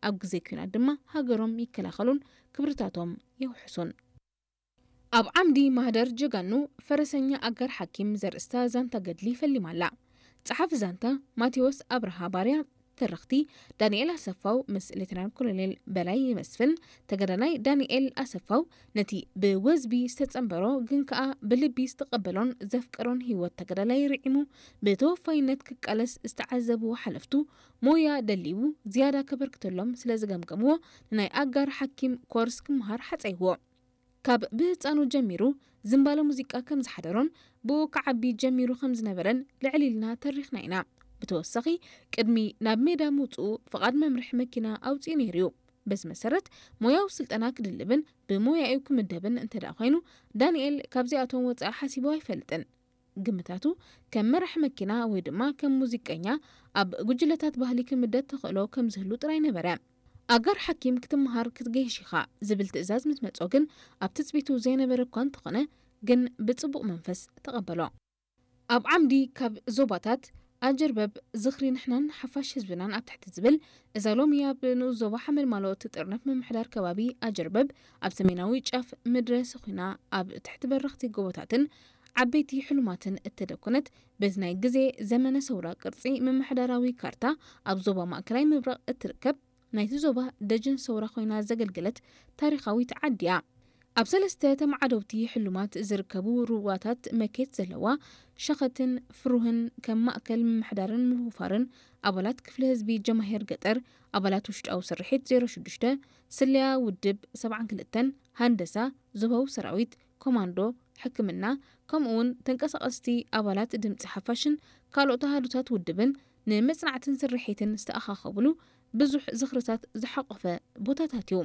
ኣብ ግዜ ኲናት ድማ ሃገሮም ይከላኸሉን ክብርታቶም የውሕሱን። ኣብ ዓምዲ ማህደር ጀጋኑ ፈረሰኛ ኣጋር ሓኪም ዘርእስታ ዛንታ ገድሊ ፈሊማ ኣላ። ጸሓፊ ዛንታ ማቴዎስ ኣብርሃ ባርያ፣ ተረኽቲ ዳንኤል ኣሰፋው ምስ ሌተናል ኮሎኔል በላይ መስፍን። ተጋዳላይ ዳንኤል ኣሰፋው ነቲ ብወዝቢ ዝተጸንበሮ ግን ከኣ ብልቢ ዝተቐበሎን ዘፍቀሮን ህይወት ተጋዳላይ ርዒሙ ብተወፋይነት ክቃለስ ዝተዓዘብዎ ሓለፍቱ፣ ሞያ ደልዩ ዝያዳ ከበርክተሎም ስለ ዝገምገምዎ፣ ንናይ ኣጋር ሓኪም ኮርስ ክመሃር ሓጸይዎ። ካብ ብህጻኑ ጀሚሩ ዝምባለ ሙዚቃ ከም ዝሓደሮን ብኡ ክዓቢ ጀሚሩ ከም ዝነበረን ልዕል ኢልና ተሪኽና ኢና። ብተወሳኺ፣ ቅድሚ ናብ ሜዳ ምውጽኡ ፍቓድ መምርሒ መኪና ኣውጺኡ ነይሩ እዩ። በዚ መሰረት፣ ሞያዊ ስልጠና ክድልብን ብሞያኡ ክምደብን እንተ ደኣ ኮይኑ፣ ዳንኤል ካብዚኣቶም ወጻኢ ሓሲቡ ኣይፈልጥን። ግምታቱ፣ ከም መራሒ መኪና ወይ ድማ ከም ሙዚቀኛ ኣብ ጉጅለታት ባህሊ ክምደብ ተኽእሎ ከም ዝህሉ ጥራይ ነበረ። ኣጋር ሓኪም ክትመሃር ክትገይሽ ኢኻ ዝብል ትእዛዝ ምስ መጾ ግን፣ ኣብ ትጽቢቱ ዘይነበረ እኳ እንተኾነ፣ ግን ብጽቡቕ መንፈስ ተቐበሎ። ኣብ ዓምዲ ካብ ዞባታት ኣጀርበብ ዝኽሪ ንሕናን ሓፋሽ ህዝብናን ኣብ ትሕቲ ዝብል፣ እዛ ሎሚ ኣብ ንኡስ ዞባ ሓመልማሎ እትጥርነፍ ምምሕዳር ከባቢ ኣጀርበብ፣ ኣብ ሰሜናዊ ጫፍ ምድረ ሰኹና ኣብ ትሕቲ በረኽቲ ጎቦታትን ዓበይቲ ሕሉማትን እተደኮነት፣ በዚ ናይ ግዜ ዘመነ ሰውራ ቅርጺ ምምሕዳራዊ ካርታ ኣብ ዞባ ማእከላይ ምብራቕ እትርከብ፣ ናይቲ ዞባ ደጀን ሰውራ ኮይና ዘገልገለት ታሪኻዊት ዓዲ እያ። ኣብ ሰለስተ ተመዓደውቲ ሕሉማት ዝርከቡ ሩባታት መኬት ዘለዋ፣ ሸኸትን ፍሩህን ከም ማእከል ምምሕዳርን ምውፋርን ኣባላት ክፍለ ህዝቢ ጀማሂር ገጠር፣ ኣባላት ውሽጣዊ ስርሒት ዜሮ ሽዱሽተ፣ ስለያ ውድብ ሰብዓን ክልተን፣ ሃንደሳ፣ ዞባዊ ሰራዊት፣ ኮማንዶ፣ ሕክምና፣ ከምኡውን ተንቀሳቐስቲ ኣባላት ድምጺ ሓፋሽን ካልኦት ኣሃዱታት ውድብን ንመጽናዕትን ስርሒትን ዝተኣኻኸብሉ ብዙሕ ዝኽርታት ዝሓቖፈ ቦታታት እዩ።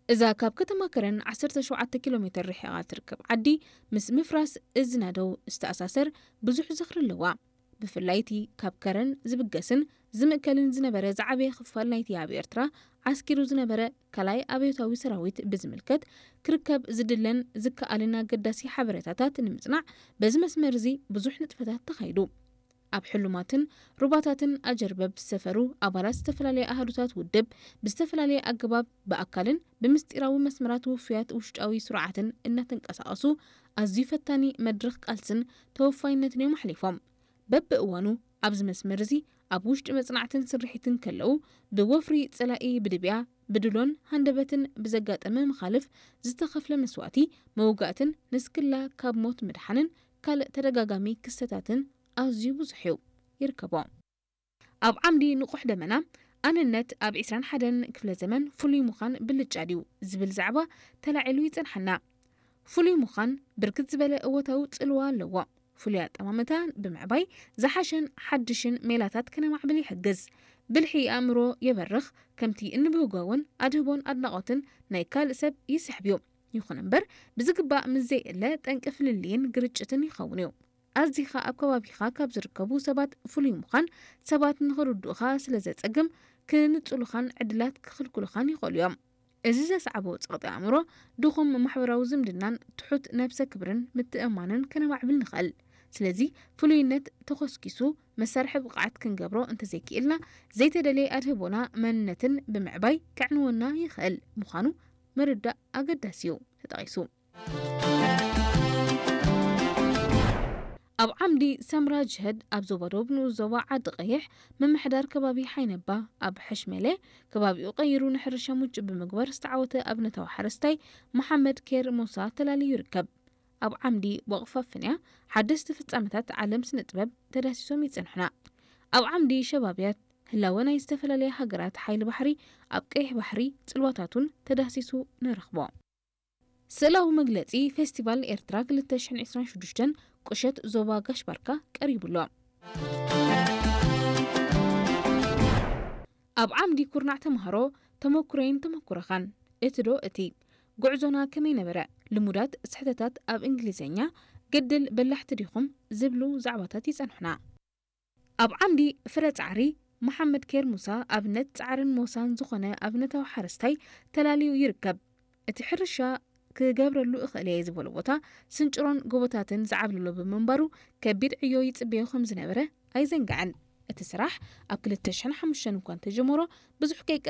እዛ ካብ ከተማ ከረን ዓሰርተ ሸውዓተ ኪሎ ሜተር ርሒቓ ትርከብ ዓዲ፣ ምስ ምፍራስ እዚ ናደው ዝተኣሳሰር ብዙሕ ዝኽሪ ኣለዋ። ብፍላይ እቲ ካብ ከረን ዝብገስን ዝምእከልን ዝነበረ ዝዓበየ ክፋል ናይቲ ኣብ ኤርትራ ዓስኪሩ ዝነበረ ካልኣይ ኣብዮታዊ ሰራዊት ብዝምልከት ክርከብ ዝድለን ዝከኣልን ኣገዳሲ ሓበሬታታት ንምጽናዕ፣ በዚ መስመር እዚ ብዙሕ ንጥፈታት ተኻይዱ። ኣብ ሕሉማትን ሩባታትን ኣጀርበብ ዝሰፈሩ ኣባላት ዝተፈላለየ ኣሃዱታት ውድብ ብዝተፈላለየ ኣገባብ ብኣካልን ብምስጢራዊ መስመራት ውፉያት ውሽጣዊ ስሩዓትን እናተንቀሳቐሱ ኣዝዩ ፈታኒ መድረኽ ቃልስን ተወፋይነትን እዮም ኣሕሊፎም። በብእዋኑ ኣብዚ መስመር እዚ ኣብ ውሽጢ መጽናዕትን ስርሒትን ከለዉ፣ ብወፍሪ ጸላኢ ብድብያ፣ ብድሎን ሃንደበትን ብዘጋጠመ መኻልፍ ዝተኸፍለ መስዋእቲ፣ መውጋእትን ንስክላ ካብ ሞት ምድሓንን ካልእ ተደጋጋሚ ክስተታትን ኣዝዩ ብዙሕ እዩ። ይርከቦ። ኣብ ዓምዲ ንቑሕ ደመና፣ ኣነነት ኣብ ዒስራን ሓደን ክፍለ ዘመን ፍሉይ ምዃን ብልጫ ድዩ ዝብል ዛዕባ ተላዒሉ ይጸንሓና። ፍሉይ ምዃን ብርክት ዝበለ እወታዊ ጽልዋ ኣለዎ። ፍሉይ ኣጠማምታ ብምዕባይ ዝሓሸን ሓድሽን ሜላታት ከነማዕብል ይሕግዝ። ብልሒ ኣእምሮ የበርኽ፣ ከምቲ እንብህጎ እውን ኣድህቦን ኣድናቖትን ናይ ካልእ ሰብ ይስሕብ እዩ። ይኹን እምበር፣ ብዝግባእ ምስ ዘይእለ ጠንቂ ፍልልይን ግርጭትን ይኸውን እዩ። ኣዚኻ ኣብ ከባቢኻ ካብ ዝርከቡ ሰባት ፍሉይ ምዃን፣ ሰባት ንኽርድኡኻ ስለ ዘጸግም፣ ክንጽሉኻን ዕድላት ክኽልክሉኻን ይኽእሉ እዮም። እዚ ዘስዓቦ ጸቕጢ ኣእምሮ፣ ድኹም ማሕበራዊ ዝምድናን ትሑት ነብሰ ክብርን ምትእምማንን ከነማዕብል ንኽእል። ስለዚ፣ ፍሉይነት ተኾስኪሱ፣ መሳርሒ ብቕዓት ክንገብሮ እንተዘይክኢልና፣ ዘይተደልየ ኣድህቦና መንነትን ብምዕባይ ከዕንወና ይኽእል ምዃኑ ምርዳእ ኣገዳሲ እዩ ተጠቒሱ። ኣብ ዓምዲ ሰምራ ጅህድ ኣብ ዞባ ደቡብ ንኡስ ዞባ ዓዲ ቀይሕ ምምሕዳር ከባቢ ሓይነባ ኣብ ሕሽመለ ከባቢኡ ቀይሩ ንሕርሻ ምቹእ ብምግባር ዝተዓወተ ኣብነታዊ ሓረስታይ መሓመድ ኬር ሙሳ ተላልዩ ይርከብ። ኣብ ዓምዲ ወቕፋፍንያ ሓደስቲ ፍጻመታት ዓለም ስነ ጥበብ ተዳሲሶም ይጸንሑና። ኣብ ዓምዲ ሸባብያት ህላወ ናይ ዝተፈላለያ ሃገራት ሓይሊ ባሕሪ ኣብ ቀይሕ ባሕሪ ጽልዋታቱን ተዳሲሱ ንረኽቦ። ስእላዊ መግለጺ ፌስቲቫል ኤርትራ ክልተ ሽሕን ዕስራን ሽዱሽተን ቁሸት ዞባ ጋሽ ባርካ ቀሪቡ ኣሎ። ኣብ ዓምዲ ኩርናዕ ተምሃሮ ተመኩረይን ተመኩረኻን፣ እቲ ዶ እቲ፣ ጉዕዞና ከመይ ነበረ፣ ልሙዳት ስሕተታት ኣብ እንግሊዝኛ፣ ግድል በላሕቲ ዲኹም ዝብሉ ዛዕባታት ይጸንሑና። ኣብ ዓምዲ ፍረ ጻዕሪ፣ መሓመድ ኬር ሙሳ ኣብነት ጻዕርን ሞሳን ዝኾነ ኣብነታዊ ሓረስታይ ተላልዩ ይርከብ። እቲ ሕርሻ ክገብረሉ እኽእል እየ ዝበሎ ቦታ ስንጭሮን ጎቦታትን ዝዓብለሎ ብምንባሩ ከቢድ ዕዮ ይጽበዮ ከም ዝነበረ ኣይዘንግዐን። እቲ ስራሕ ኣብ ክልተ ሽሕን ሓሙሽተን እኳ እንተጀመሮ ብዙሕ ከይቀጸ